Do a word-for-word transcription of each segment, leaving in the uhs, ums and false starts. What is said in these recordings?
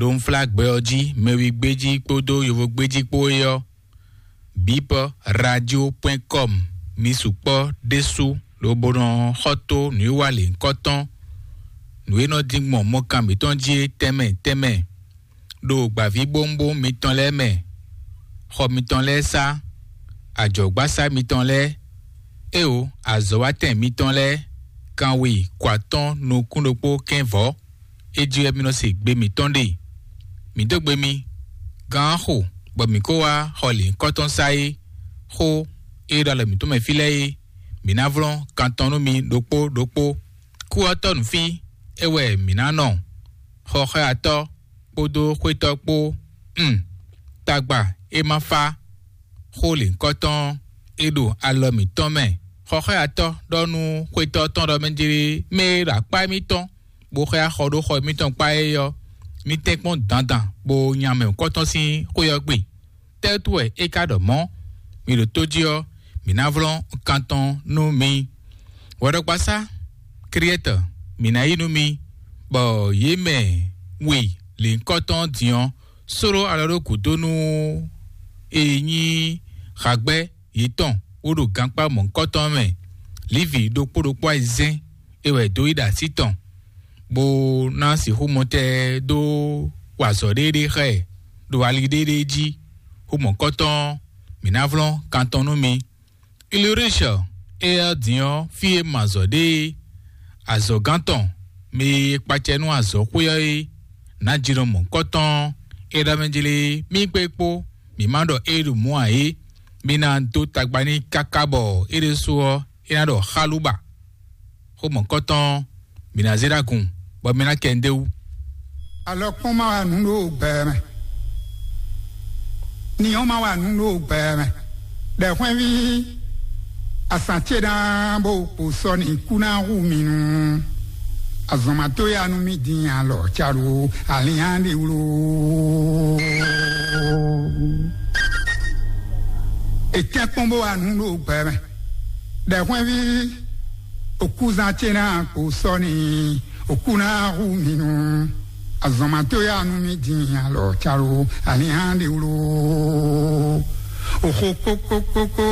ɖo unflágbɛ ɔ́ jí, mɛwígbé jí kpódó yovógbé jí kpó é ɔ́, bip radio point com. Mi sukpɔ́ ɖésú lobo nɔ xɔ tó nǔwiwa lěhunkɔtɔn, nǔ e nɔ dín gbɔn mɔkan mǐtɔn jí é tɛnmɛ tɛnmɛ, ɖo gbǎvíbówúnbówún mitɔn lɛ́ɛ mɛ, xɔ mitɔn lɛ́ɛ sá, ajɔ̌gbásá mitɔn lɛ́ɛ, éeǒ, azɔ̌watɛn mitɔn lɛ́ɛ, kanwe ko atɔ́ɔ́n nukún ɖokpó kɛ́n vɔ̌. É jí wɛ mi nɔ se gbe mǐtɔn ɖe. Mǐ dó gbe mi, gán xo, bɔ mǐ kó wá xɔ lǐnkɔ́tɔn sá é. Xó e ɖo alɔ mǐtɔn mɛ fí lɛ́ɛ é, mǐ ná vlɔ́n kan tɔn nú mi ɖokpó ɖokpó. Kú ɔ́ tɔ́ nǔ fí, é wɛ mǐ ná nɔ. Xɔxɔ́yatɔ́ kpódó xwétɔ́ kpó, un, tagba e ma fá. Xó lěhunkɔtɔn e ɖo alɔ mǐtɔn mɛ. Xɔxɔ́yatɔ́ ɖɔ nú xwétɔ́ tɔn ɖɔ mɛ jlé mɛ e ɖo akpá émítɔn bó xɔ axɔ ɖó xɔ émítɔn kpá é ɔ́, mì tɛ́nkpɔ́n dandan bó nya mɛ nǔkɔntɔn sín xwé ɔ́ gbe. Tɛ́ wútu wɛ é ka ɖɔ mɔ̌? Mi ɖo tó jí ɔ́, mǐ ná vlɔ́n kan tɔn nú mi. Hwɛɖɔgbasá Kriɛ́tɔ, mǐ ná yí nú mi, bɔ yě mɛ we lěhunkɔtɔn din ɔ́, sóló alɔ ɖó gǔdo nú e nyí hagbɛ́ yětɔn bó ɖo gankpá mɔ̌hunkɔtɔn mɛ. Lǐvi ɖokpó ɖokpó ayizɛ́n é wɛ dó yi ɖo así tɔn, bó ná sixú mɔtɛn dó wa azɔ̌ ɖéeɖée xá ɛ ɖo ali ɖéeɖée jí. Xó mɔ̌hunkɔtɔn ɔ́, mǐ ná vlɔ́n kan tɔn nú mi. Ilurishɔ é ɔ́ din ɔ́, fí e ma azɔ̌ ɖe é, azɔ̌gán tɔn, mɛ e kpacɛ nú azɔ̌xwé ɔ́ é, nǎjínɔ mɔ̌hunkɔtɔn ɔ́, é ɖɔ mɛ jlé mì kpé kpó, mǐ ma ɖɔ é ɖo mɔ̌ ǎ é. Mi ná dó tagba n'i káká bɔ é ɖésú ɔ́, é ná ɖɔ xálúba. Xó mɔ̌hunkɔtɔn ɔ́, mǐ ná zé ɖó agun, bɔ mi ná kɛ nǔɖé wú. Alɔkpɔ́n ma wa nǔ ɖo gbɛ mɛ. Ni ɔ́ ma wa nǔ ɖo gbɛ mɛ. Ɖɛ̌xwɛ́nví, asǎn ce ná bó kpo sɔ́ ni kú ná hu mi nu. Azɔ̌ ma tó ya nú mì dín alɔ caɖu alǐnnyá ɖi wlú. È tɛ́nkpɔ́n bó wa nǔ ɖo gbɛ mɛ. Ɖɛ̌xwɛ́nví, òkúzán ce ná kpo sɔ́ ni, òkú ná hu mi nu. Azɔ̌ ma tó ya nú mì dín alɔ caɖu alǐnnyá ɖi wlú. Òxo kókókókó.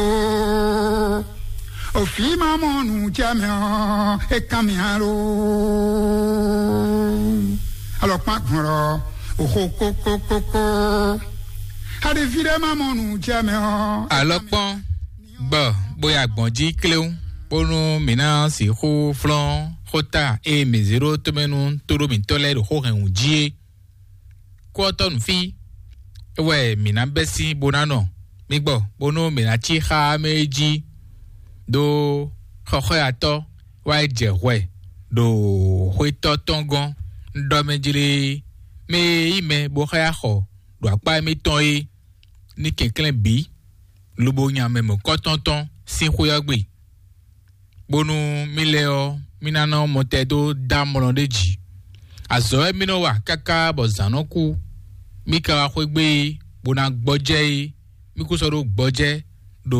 Òfǐ ma mɔ nǔ jɛ mɛ ɔ́, é kán mi alo. Alɔkpán gbɔn lɔ, òxo kókókókó. Aɖeví ɖé ma mɔ nǔ jɛ mɛ ɔ́. Alɔkpɔn gbɔ bóyá gbɔn jí kléwún, bónú mǐ ná sixú flɔ́n xóta e mǐ zé ɖó tomɛ nú tóɖó mǐtɔn lɛ́ɛ ɖo xó hɛn wǔ jí é. Kú ɔ́ tɔ́ nǔ fí, é wɛ mǐ ná bɛ́ sín bó ná nɔ. Mi gbɔ, bónú mǐ ná cí xá mɛ é jí, ɖó xɔxɔ́yatɔ́ wá yi jɛ hwɛ ɖo xwétɔ́ tɔn gɔ́n. Un ɖɔ mɛ jlé, mɛ e yí mɛ bó xá yá xɔ ɖo akpá émítɔn é, ní kɛnklɛ́n bǐ, lobo nya mɛ mɔ̌kɔ́tɔn tɔn sín xwé ɔ́ gbe, bónú mì lɛ́ɛ ɔ́, mì ná nɔ mɔtɛn dó dó amlɔ ɖé jǐ. Azɔ̌ wɛ mì nɔ wa káká bɔ zǎn nɔ kú. Mì ka wá xwé gbe é, bó ná gbɔjɛ́ é, mì kún sɔ́ ɖó gbɔjɛ́ ɖo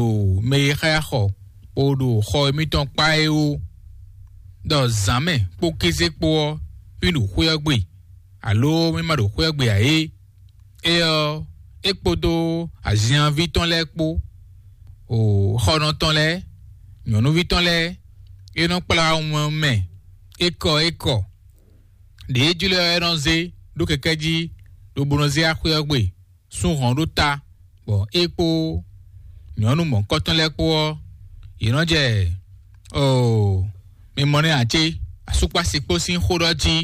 mɛ e xá yá xɔ, bó ɖo xɔ émítɔn kpá é ó. Ɖɔ zǎn mɛ kpó kéze kpó ɔ́, mì ɖo xwé ɔ́ gbe, alo mì ma ɖo xwé ɔ́ gbe ǎ é. É ɔ́, é kpódó azinyanví tɔn lɛ́ɛ kpó, o xɔnɔ tɔn lɛ́ɛ, nyɔ̌nuví tɔn lɛ́ɛ, é nɔ kplá wun mɛ ékɔ ékɔ. Ɖě jlɔ́ ɛ nɔ zé ɖó kɛkɛ́ jí, lobo nɔ zé axwé ɔ́ gbe, sú hɔn ɖó ta, bɔ é kpó nyɔ̌nu mɔ̌kɔtɔn lɛ́ɛ kpó ɔ́, yě nɔ jɛ, oo, mi mɔ nɛ́ ǎ cé? Asúkpási kpó sín xó ɖɔ jí,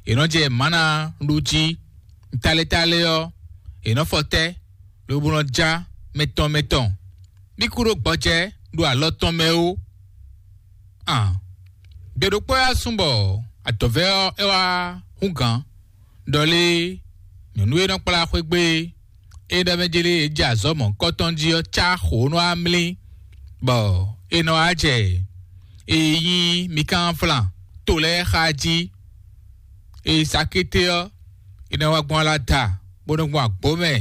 yě nɔ jɛ mǎna ɖu jí, talé talé ɔ́, yě nɔ fɔ tɛ́, lobo nɔ já mɛtɔn mɛtɔn. Mì kú ɖó gbɔjɛ́ ɖo alɔ tɔn mɛ ó. An, gbe ɖokpó wɛ wá sún bɔ adɔ̌vɛ́ ɔ́ é wá hú gǎn, ɖɔ lé nyɔ̌nu e nɔ kplá xwé gbe é, é ɖɔ mɛ jlé e jɛ azɔ̌ mɔ̌kɔtɔn jí ɔ́ cá xǒ nɔ wá mlí, bɔ é nɔ wá jɛ e nyí Mikánflan to lɛ́ɛ xá jí. E sakété ɔ́, è nɔ wá gbɔn ala da, bó nɔ gbɔn agbǒ mɛ,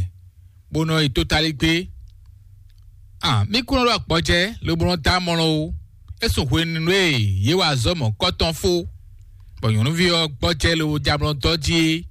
bó nɔ yi tótálí gbé. An, mì kún nɔ ɖo agbɔjɛ lobo nɔ dó amlɔ ó. É sun hwenu e yě wa azɔ̌ mɔ̌kɔtɔn fó, bɔ nyɔ̌nuví ɔ́ gbɔjɛ lobo jɛ amlɔ dɔ́ jí é.